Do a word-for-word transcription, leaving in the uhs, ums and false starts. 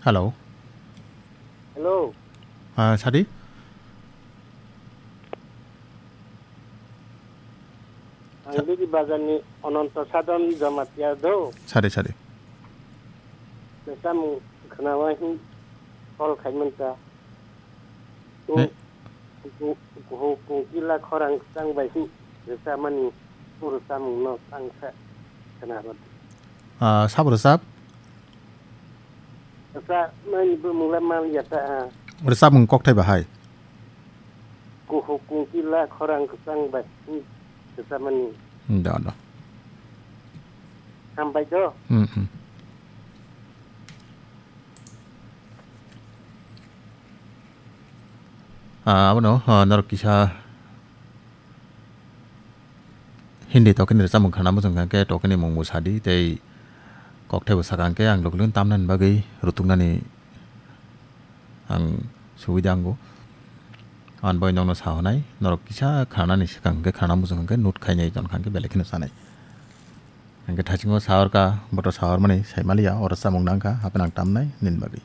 Hello. Hello. Ah, sadi? Ang Sa- Bidi Bazarni Ononto Sadon Jamatia do. Sadi, sadi. Samung khnawa hin call khaimanta. Ne- Kuhu kungkila khorang kwchang bai hin rwchapmani puru samungno tangsa khna rwdi. Ah, sabo rwchap? Rwchapmani bumung le man ya ta ha. Rwchapmung kokthai bahai. Kuhu kungkila khorang kwchang bai hin rwchapmani. Hmm, da, da. Hambai do. Hmm, hmm. Ah, abono, ah, norok kisa Hindi tokeni rwchapmung khana muchung kha khe tokeni mung bo sadi tei kokthai bo sakha khe ang logilogino tamnani bagwi rutuknani ang subida wngo. Ang bai nokno sa hwnai, norok kisa khanani swkang khe khana muchung kha khe note khainai ton kha khe belai kheno sanai. Hwnkhe thaisingo sa hor kha, boto sa hormani sai maliya, oro chamung nang kha, hapheno ang tamnai nini bagwi.